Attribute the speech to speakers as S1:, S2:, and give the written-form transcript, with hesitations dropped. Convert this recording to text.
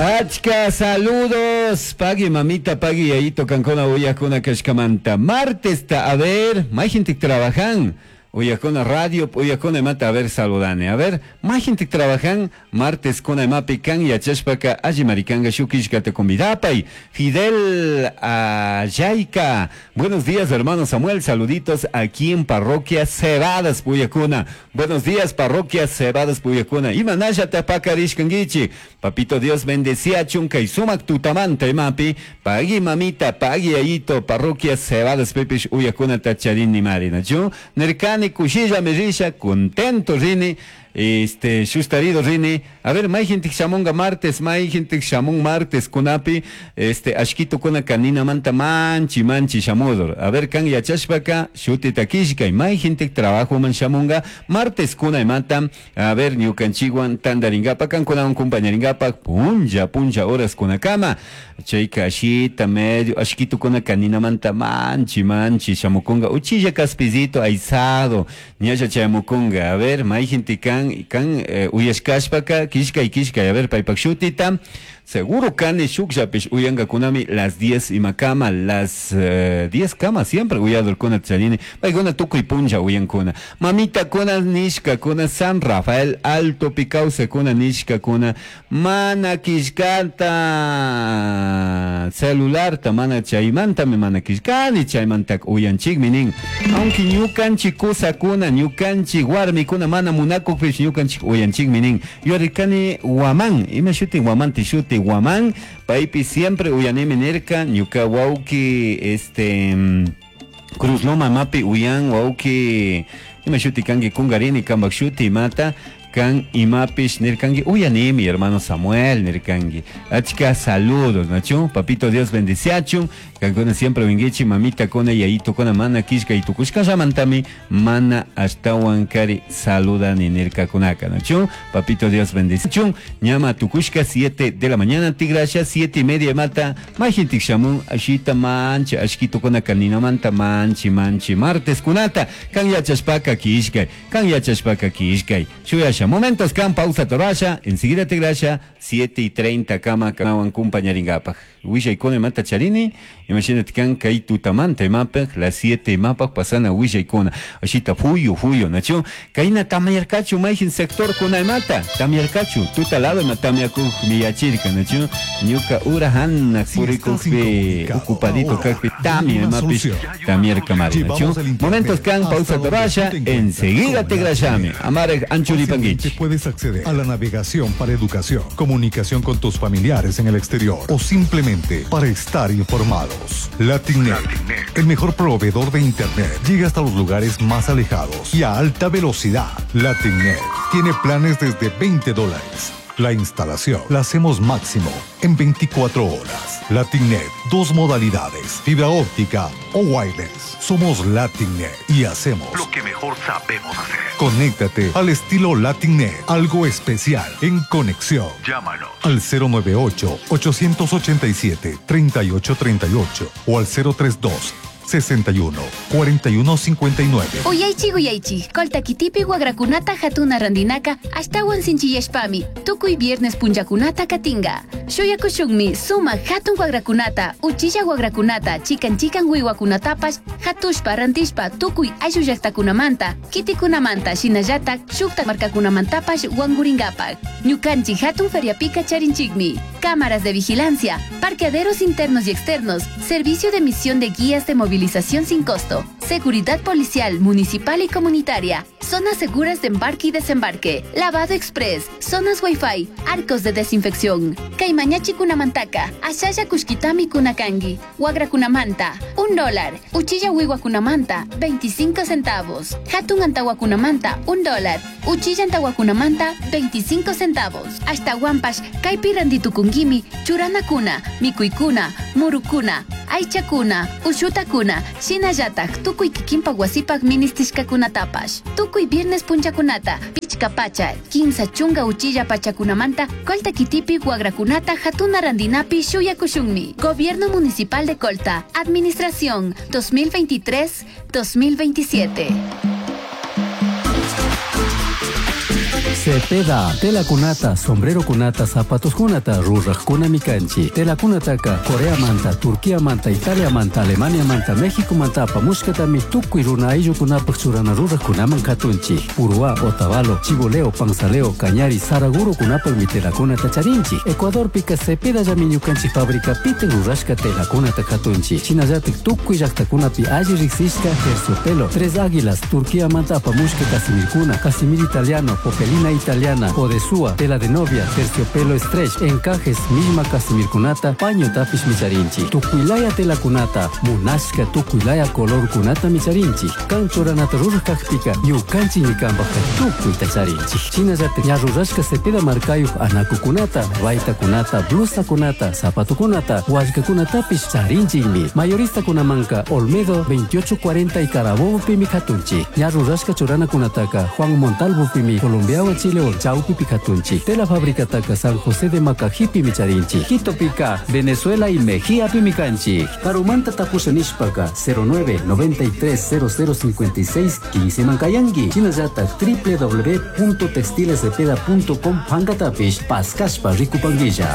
S1: Achka saludos, pagui mamita, pagui yayito kankuna uyakuna kashkamanta. Martesta, a ver, mayhintik trabajan. Uyakuna radio, uyakuna imata, a ver, saludani. A ver, mayhintik trabajan, martes kuna imapi kan yachashpaka alli marikanga shuk killkata convidapay. Fidel Ayayka. Buenos días, hermano Samuel, saluditos aquí en Parroquia Cebadas, Puyacuna. Buenos días, Parroquia Cebadas, Puyacuna. Imanalla tapakarishkanguichi. Papito Dios bendeciachun kay sumak tutamanta imapi. Pagui mamita, pagui ayito, Parroquia Cebadas, Pepish uyakuna tacharini marina. Nerkani kushilla merisha, contento rini. Este, shustarido rini. A ver, mayhintik shamunga martes, mayhintik shamun martes kunapi, este, ashkito kuna kanina manta manchi manchi shamudor. A ver, kan yachashpaka, shutita kishkay, mayhintik trabajo man shamunga, martes kuna imata, a ver, ñukanchikwan tandaringapa, kankunawan kumpañaringapa, punlla, punlla horas kunakama. Chayka ashita medio, ashkito kuna kanina manta manchi manchi shamukunga, uchilla kaspizito aizado, ñalla chayamukunga. A ver, mayhintik kan, kan uyashkashpaka, kishkay, kishkay, a ver, paypak shutita, seguro kani shukllapish uyangakunami las 10 imakama, las 10 kama siempre uyadorkuna charini, paykuna tukuy punlla uyankuna. Mamita kuna nishka kuna San Rafael Alto Picauce kuna nishka kuna mana kishkata celularta mana chaymantami mana kishkani chaymanta uyanchikmi nin. Aunque ñukanchik kusakuna, ñukanchik warmikuna mana munakukpish ñukanchik uyanchikmi nin. Yurikani Guamán, ima shuti Guamán ti shuti Guamán, paypi siempre uyanimi nirka, ñuka wawki, este, Cruz Loma mapi uyan wawki, ima shuti kanki kungarini kambak shuti mata, kan imapish nirkangi uyanimi hermano Samuel nirkangi. Achka saludos, nachu, papito Dios bendiciachun, kankuna siempre wingichi mamita kona yayito kona mana kishka itukushka llamantami mana ashtawan kari saludani nirkakunaka, nachu, papito Dios bendiciachun, ñama tukushka 7 de la mañana tigrasha 7:30 mata, majintik shamun ashita mancha ashkito kona kanina manta manchi manchi martes kunata, kan yachashpaka kishkay, kan yachashpaka kishkay, shuyasha. Momentos kan pausa torasha, enseguida te grasha, 7:30 kama kanawan kumpañaringapaj. Willaykuna mata charini, imagínate kan kay tutamanta imapaj, las 7 imapaj pasana willaykuna. Ashita fuyo, fuyo, nacho. Kayna tamayarkachu mayhin sector kuna imata, tamyarkachu, tuta lado ima tamyakuj miyachirka, nacho. Ñuka ura hanna
S2: Si estás
S1: purikujpi,
S2: incomunicado
S1: ocupadito
S2: ahora,
S1: kajpi, tamia
S2: una
S1: imapish,
S2: solución.
S1: tamyarkamari, nacho.
S2: Llevamos el internet
S1: Momentos kan
S2: hasta
S1: pausa
S2: donde
S1: torasha,
S2: tú te encuentras
S1: enseguida
S2: con
S1: te
S2: la
S1: grashami.
S2: primera.
S1: Amare anchuripanguichi.
S2: Fácilmente puedes acceder a la navegación para educación, comunicación con tus familiares en el exterior o simplemente para estar informados. Latinet, el mejor proveedor de internet, llega hasta los lugares más alejados y a alta velocidad. Latinet tiene planes desde veinte dólares. La instalación la hacemos máximo en 24 horas. Latinet, 2 modalidades, fibra óptica o wireless. Somos Latinet y hacemos
S3: lo que mejor sabemos hacer.
S2: Conéctate al estilo Latinet, algo especial en conexión.
S3: Llámanos
S2: al cero nueve ocho, ochocientos ochenta y siete, treinta y ocho treinta y ocho o al cero tres dos, sesenta y uno, cuarenta y uno, cincuenta y nueve.
S4: Uyaychi, uyaychi, Colta kitipi wagrakunata hatuna randinaka, ashtawan sinchiyashpami, tukuy viernes punllakunata katinga. Shuyakushunmi, suma hatun wagrakunata, uchilla wagrakunata, chikan chikan wiwakunatapash, hatushpa rantishpa, tukuy ayllu llaqtakunamanta, kitikunamanta, shinallatak, shukta markakunamantapash wanguringapak. Ñukanchik hatun feriapika charinchikmi. Cámaras de vigilancia, parqueaderos internos y externos, servicio de emisión de guías de movilización sin costo, seguridad policial, municipal y comunitaria, zonas seguras de embarque y desembarque, lavado express, zonas wifi, arcos de desinfección. Caimañachi kunamantaka, Ashaya kushkitami kunakangi, Wagra kunamanta, un dólar, Uchilla wiwa kunamanta, 25 centavos, Hatun antawa kunamanta, un dólar, Uchilla antawa kunamanta, 25 centavos, Hasta guampash, kaipi randitukunguimi, churana kuna, mikuikuna, murukuna, aychakuna, ushutakuna, shinallatak, tukuy kikinpak wasipak ministishkakunatapash. Tukuy viernes punchakunata, pichka pacha, kimsa chunga uchilla pachakunamanta, Colta kitipi wagrakunata hatuna randinapi shuyakushunmi. Gobierno Municipal de Colta, Administración 2023-2027.
S5: Cepeda, telakunata, sombrerokunata, zapatoskunata rurajkunami kanchik. Telakunataka Coreamanta, Turquiamanta, Italiamanta, Alemaniamanta, Mexicomanta apamushkatami tukuy runa ayllukunapaj churana rurajkunaman katunchik. Purúa, Otavalo, Chiboleo, Panzaleo, Cañari, Saragurokunapajmi telakunata charinchik. Ecuadorpika Cepedallami ñukanchik fabricapita rurashka telakunata katunchik. Shinallatik tukuy llaktakunapi alli riksishka terciopelo, Tres Águilas, Turquiamanta apamushka casimirkuna, casimir italiano, popelina italiana, odesúa, tela de novia, terciopelo stretch, encajes, misma casimirkunata, paño tapish micharinchik. Tukuylaya telakunata, munashka tukuylaya colorkunata micharinchik. Kan churanata ruraj kakpika, ñukanchikmi kanpajka tukuyta charinchik. Shinallatik ña rurashka Cepeda markayuq anakukunata, baytakunata, blusakunata, zapatokunata, wallkakunatapish charinchikmi. Mayoristakunamanka Olmedo 2840 y Carabobopimi katunchik. Ña rurashka churanakunataka Juan Montalvopimi Colombiawan Chilewan chawpipi katunchik. Tela fabricataka San José de Macajipimi charinchik. Quitopika Venezuela y Mejíapimi kanchik. Karumanta tapusha nishpaka 09 93 0056 15 mankayanki. Shinallatak www.textilescepeda.com pankatapish paskashpa rikupankilla.